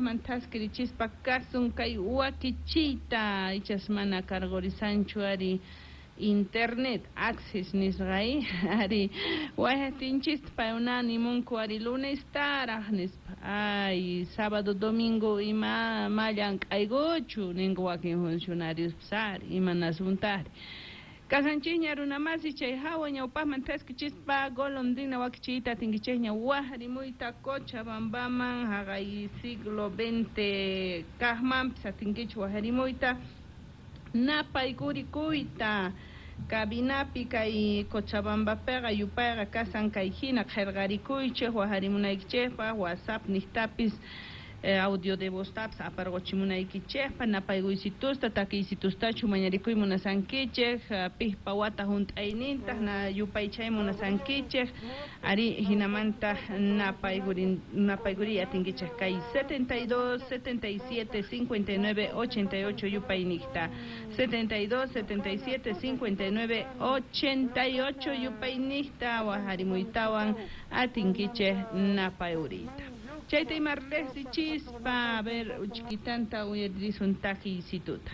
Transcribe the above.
Ñawpaqman thaskirichispa kasun kay wakichiyta ichas mana karqurisanchu ari internet access nisqay ari wayaqtinchista paykuna nimunku ari lunestaraq nispa ay sábado domingo ima ma llank'aykuchu ninku wakin funcionarios ari imanasuntari kasanchikña runamasi chay hawa ñawpaqman thaskichispa golondrina wakichiyta atinkichikña waqrimuyta Cochabambaman haqay siglo XX kaqmanpis atinkichik waqrimuyta napaykurikuyta cabinapi kay Cochabambapiqa yupayqa kasan kay hina qillqarikuychik waqrimunaykichikpaq WhatsApp niqtapis audio de voztapis aparquchimunaykichikpaq napaykuysitusta takiysitustachu mañarikuy munasankichik piqpa wata hunt'aynintaq na yupaychay munasankichik ari hinamanta napaykuriy atinkichik kay 72 77 59 88 yupayniqta 72 77 59 88 yupayniqta waharimuytawan atinkichik napayuriyta. Chayta ima riqsichispa, a ver, uchkitanta uyarisun takiysituta.